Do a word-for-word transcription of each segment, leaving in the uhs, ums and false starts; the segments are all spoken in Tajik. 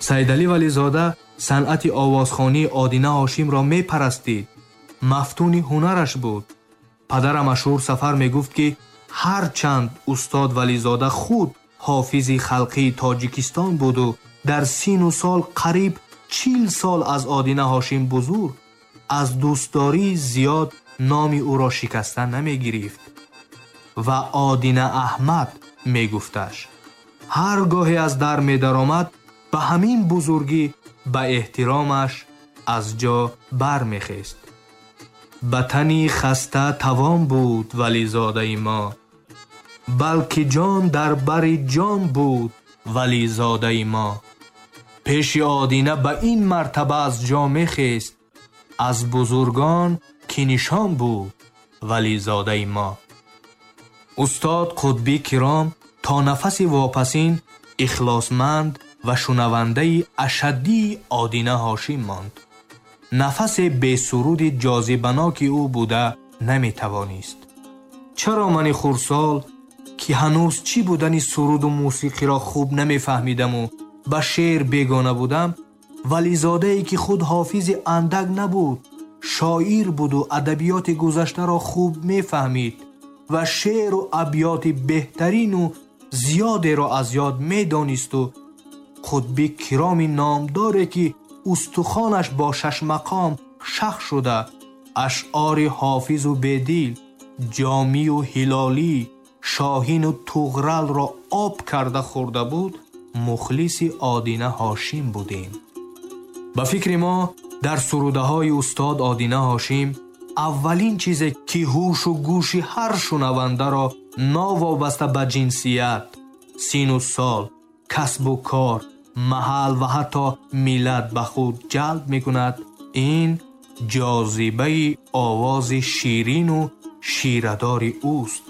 Сайдалӣ Вализода санъати овозхонии Одина Ҳошимро мепарастид, мафтуни ҳунараш буд. Падарам Ашур Сафар мегуфт, ки ҳарчанд устод Вализода худ ҳофизи халқии Тоҷикистон буду дар сину сол қариб чил сол аз Одина Ҳошим бузург, аз дӯстдории зиёд номи ӯро шикаста намегирифт ва Одина Аҳмад мегуфташ. Ҳар гоҳе аз дар медаромад, ба ҳамин бузургӣ ба эҳтиромаш аз ҷо бармехест. Ба тани хаста тавон буд Вализодаи мо, балки ҷон дар бари ҷон буд Вализодаи мо. Пеши Одина ба ин мартаба аз ҷо мехест, аз бузургон ки нишон буд Вализодаи мо. Устод Қутбӣ Киром то нафаси вопасин ихлосманд ва шунавандаи ашаддии Одина Ҳошим монд. Нафасе бесуруди ҷозибаноки ӯ буда наметавонист. Чаро мани хурдсол, ки ҳанӯз чӣ будани суруду мусиқиро хуб намефаҳмидаму ба шеър бегона будам, Вализодае ки худ ҳофизи андак набуд, шоир буду адабиёти гузаштаро хуб мефаҳмид ва шеъру абёти беҳтарину зиёдеро аз ёд медонисту Қутбӣ Кироми номдоре ки устухонаш бо шашмақом шах шуда, ашъори ҳофизу Бедил, Ҷомию Ҳилолӣ, Шоҳину Туғралро об карда хӯрда буд, мухлиси Одина Ҳошим будем. Ба фикри мо дар сурудаҳои устод Одина Ҳошим аввалин чизе ки ҳушу гӯши ҳар шунавандаро новобаста ба ҷинсият, сину сол, касбу кор, маҳал ва ҳатто миллат ба худ ҷалб мекунад, ин ҷозибаи овози ширину ширадори ӯст,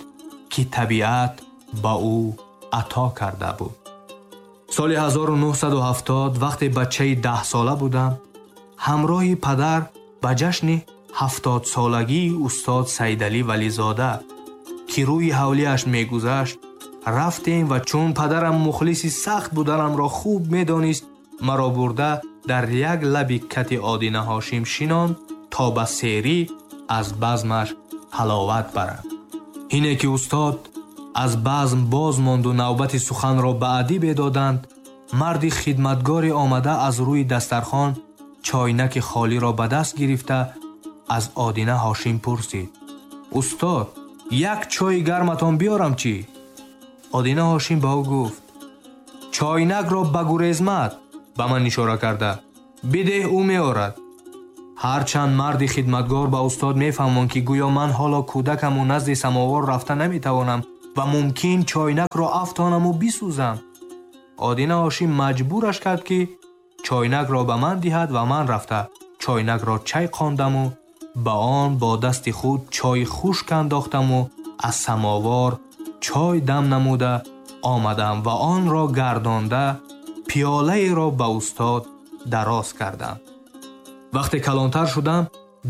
ки табиат ба ӯ ато карда буд. Соли ҳазору нӯҳсаду ҳафтод вақте бачаи даҳсола будам, ҳамроҳи падар ба ҷашни ҳафтодсолагии устод Сайдалӣ Вализода, ки рӯи ҳавлиаш мегузашт, рафтем ва чун падарам мухлиси сахт буданамро хуб медонист, маро бурда дар як лаби кати Одина Ҳошим шинонд то ба серӣ аз базмаш ҳаловат барам. Ҳине ки устод аз базм боз монду навбати суханро ба адибе доданд, марди хидматгоре омада аз рӯи дастархон чойнаки холиро ба даст гирифта аз Одина Ҳошим пурсид: «Устод, як чойи гарматон биёрам чӣ?» Одина Ҳошим ба ӯ гуфт: «Чойнакро ба гурезмат ба ман ишора карда бидеҳ, ӯ меорад». Ҳарчанд марди хидматгор ба устод мефаҳмонд, ки гӯё ман ҳоло кӯдакаму назди самовар рафта наметавонам ва мумкин чойнакро афтонаму бисӯзам, Одина Ҳошим маҷбураш кард, ки чойнакро ба ман диҳад ва ман рафта чойнакро чайқондаму ба он бо дасти худ чойи хушк андохтаму аз самовар чой дам намуда омадам ва онро гардонда пиёлаеро ба устод дароз кардам. Вақте калонтар шудам,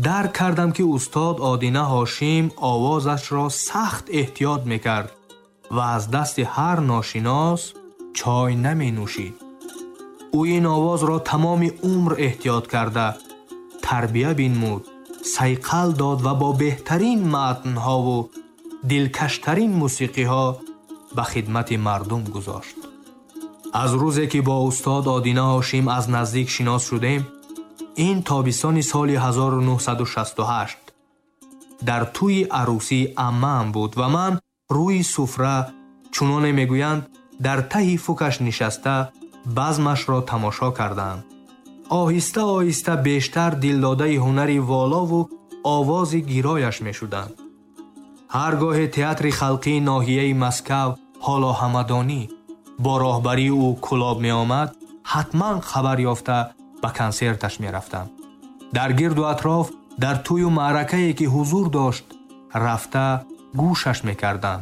дарк кардам, ки устод Одина Ҳошим овозашро сахт эҳтиёт мекард ва аз дасти ҳар ношинос чой наменӯшид. Ӯ ин овозро тамоми умр эҳтиёт карда, тарбия бинмуд, сайқал дод ва бо беҳтарин матнҳову дилкаштарин мусиқиҳо ба хидмати мардум гузошт. Аз рӯзе ки бо устод Одина Ҳошим аз наздик шинос шудем, ин тобистони соли ҳазору нӯҳсаду шасту ҳашт дар тӯи арӯсии аммаам буд ва ман рӯи суфра, чуноне мегӯянд, дар таҳи фукаш нишаста базмашро тамошо кардам. Оҳиста оҳиста бештар дилдодаи ҳунари волову овози гирояш мешудам. Ҳар гоҳе театри халқии ноҳияи Москав, ҳоло Ҳамадонӣ, бо роҳбарии ӯ Кӯлоб меомад, ҳатман хабар ёфта ба консерташ мерафтам. Дар гирду атроф, дар тӯю маъракае ки ҳузур дошт, рафта гӯшаш мекардам.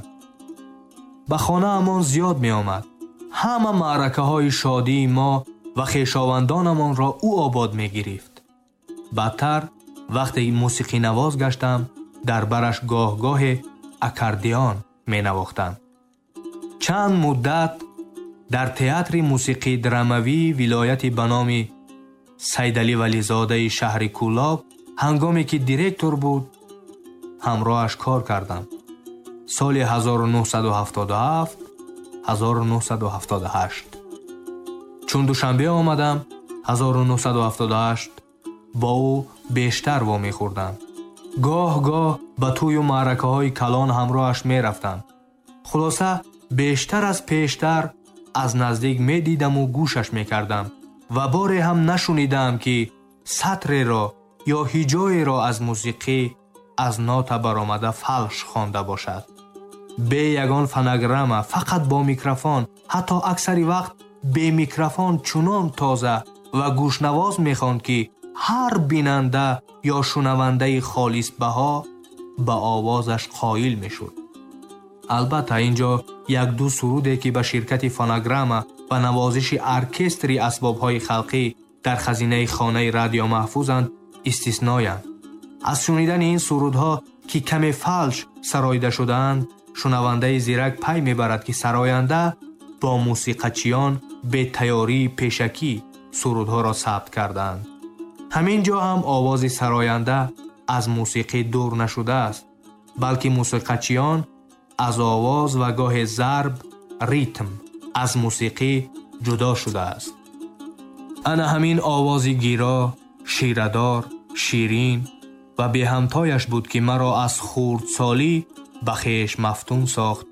Ба хонаамон зиёд меомад. Ҳама маъракаҳои шодии мо ва хешовандонамонро ӯ обод мегирифт. Баъдтар вақте мусиқинавоз гаштам, дар бараш гоҳ-гоҳе аккордеон менавохтам. Чанд муддат Дар театри мусиқии драмавии вилояти ба номи Сайдалӣ Вализодаи шаҳри Кӯлоб ҳангоме ки директор буд, ҳамроҳаш кор кардам. Соли ҳазору нӯҳсаду ҳафтоду ҳафт, ҳазору нӯҳсаду ҳафтоду ҳашт. Чун Душанбе омадам, ҳазору нӯҳсаду ҳафтоду ҳашт бо ӯ бештар вомехӯрдам. Гоҳ-гоҳ ба тӯю маъракаҳои калон ҳамроҳаш мерафтам. Хулоса, бештар аз пештар аз наздик медидаму гӯшаш мекардам ва боре ҳам нашунидаам, ки сатреро ё ҳиҷоеро аз мусиқӣ аз нота баромада фалш хонда бошад. Бе ягон фонограмма, фақат бо микрофон, ҳатто аксари вақт бе микрофон чунон тоза ва гӯшнавоз мехонд, ки ҳар бинанда ё шунавандаи холисбаҳо ба овозаш қоил мешуд. Албатта, инҷо як-ду суруде, ки ба ширкати фонограмма ва навозиши оркестри асбобҳои халқӣ дар хазинаи хонаи радио маҳфузанд, истисноянд. Аз шунидани ин сурудҳо, ки каме фалш сароида шудаанд, шунавандаи зирак пай мебарад, ки сароянда бо мусиқачиён бетайёрии пешакӣ сурудҳоро сабт кардаанд. Ҳамин ҷо ҳам овози сароянда аз мусиқӣ дур нашудааст, балки мусиқачиён аз овоз ва гоҳе зарб, ритм аз мусиқӣ ҷудо шудааст. Ана ҳамин овози гиро, ширадор, ширин ва беҳамтояш буд, ки маро аз хурдсолӣ ба хеш мафтун сохт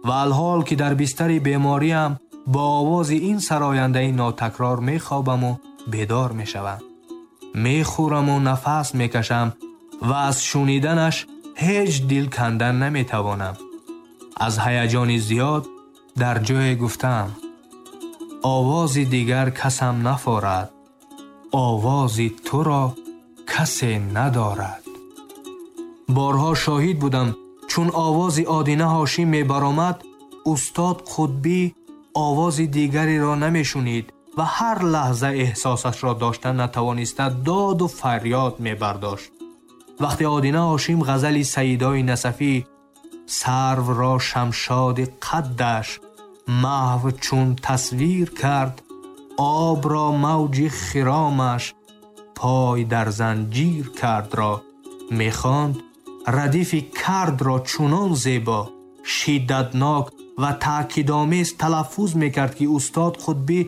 ва алҳол ки дар бистари бемориам бо овози ин сарояндаи нотакрор мехобаму бедор мешавам. Мехӯраму нафас мекашам ва аз шуниданаш ҳеҷ дил кандан наметавонам. Аз ҳаяҷони зиёд дар ҷое гуфтам: овози дигар касам нафорад, овози туро касе надорад. Борҳо шоҳид будам, чун овози Одина Ҳошим мебаромад, устод Қутбӣ овози дигареро намешунид ва ҳар лаҳза эҳсосашро дошта натавониста доду фарёд мебардошт. Вақте Одина Ҳошим ғазали Саидои Насафӣ сарвро шамшоди қаддаш маҳв чун тасвир кард, обро мавҷи хиромаш пой дар занҷир кардро мехонд, радифи кардро чунон зебо, шиддатнок ва таъкидомез талаффуз мекард, ки устод Қутбӣ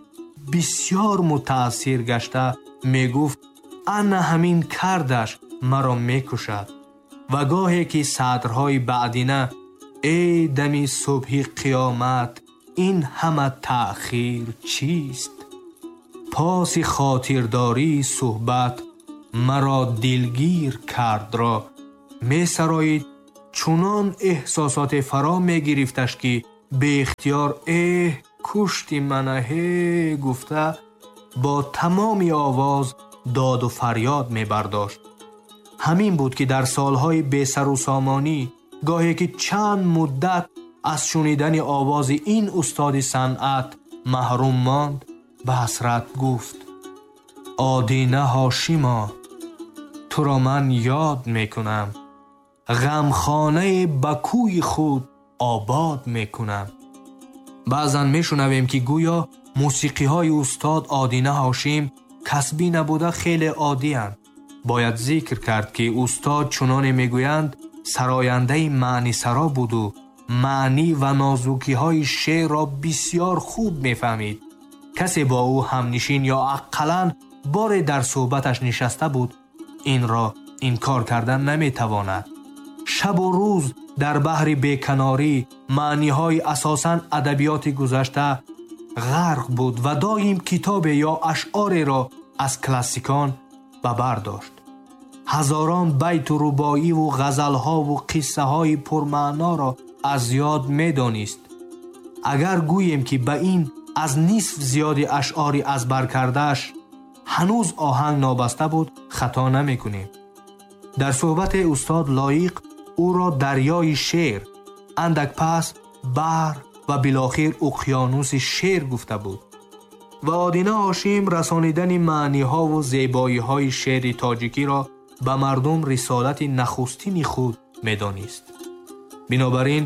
бисёр мутаассир гашта мегуфт: ана ҳамин кардаш маро мекушад. Ва гоҳе ки сатрҳои баъдина эй дами субҳи қиёмат, ин ҳама таъхир чист? Паси хотирдории суҳбат маро дилгир кардро месароид, чунон эҳсосоте фаро мегирифташ, ки беихтиёр эҳ кушти мана ҳе гуфта бо тамоми овоз доду фарёд мебардошт. Ҳамин буд, ки дар солҳои бесарусомонӣ гоҳе ки чанд муддат аз шунидани овози ин устоди санъат маҳрум монд, ба ҳасрат гуфт: Одина Ҳошимо, туро ман ёд мекунам, ғамхонаи ба кӯи худ обод мекунам. Баъзан мешунавем, ки гӯё мусиқиҳои устод Одина Ҳошим касбӣ набуда хеле оддиянд. Бояд зикр кард, ки устод чуноне мегӯянд, сарояндаи маънисаро буду маънӣ ва нозукиҳои шеърро бисёр хуб мефаҳмид. Касе бо ӯ ҳамнишин ё ақаллан боре дар суҳбаташ нишаста буд, инро инкор кардан наметавонад. Шабу рӯз дар баҳри беканорӣ маъниҳои асосан адабиёти гузашта ғарқ буд ва доим китобе ё ашъореро аз классикон ба бар дошт. Ҳазорон байту рубоиву ғазалҳову қиссаҳои пурмаъноро аз ёд медонист. Агар гӯем, ки ба ин аз нисф зиёди ашъори аз бар кардааш ҳанӯз оҳанг нобаста буд, хато намекунем. Дар суҳбати устод Лоиқ ӯро дарёи шеър, андак пас баҳр ва билохир уқёнуси шеър гуфта буд. Ва Одина Ҳошим расонидани маъниҳову зебоиҳои шеъри тоҷикиро ба мардум рисолати нахустини худ медонист. Бинобар ин,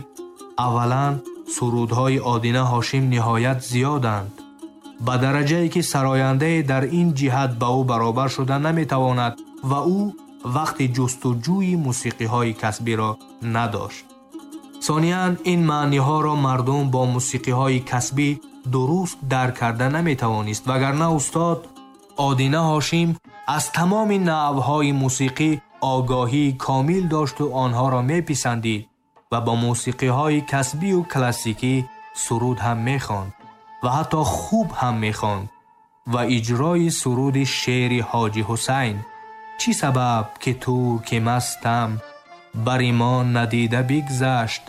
аввалан Сурудҳои Одина Ҳошим ниҳоят зиёданд, ба дараҷае ки сарояндае дар ин ҷиҳат ба ӯ баробар шуда наметавонад ва ӯ вақти ҷустуҷӯи мусиқиҳои касбиро надошт. Сониян, ин маъниҳоро мардум бо мусиқиҳои касбӣ дуруст дарк карда наметавонист, вагарна устод Одина Ҳошим аз тамоми навъҳои мусиқӣ огоҳии комил дошту онҳоро меписандид ва бо мусиқиҳои касбию классикӣ суруд ҳам мехонд ва ҳатто хуб ҳам мехонд ва иҷрои суруди шеъри Ҳоҷи Ҳусайн «Чӣ сабаб ки турки мастам бари мо надида бигзашт»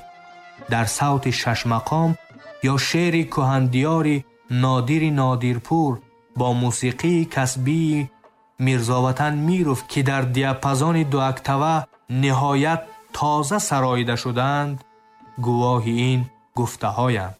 дар савти шашмақом ё шеъри кӯҳандиёри Нодири Нодирпур бо мусиқии касбии Мирзоватан Миров, ки дар диапазони дуоктава ниҳоят тоза сароида шудаанд, гувоҳи ин гуфтаҳоянд.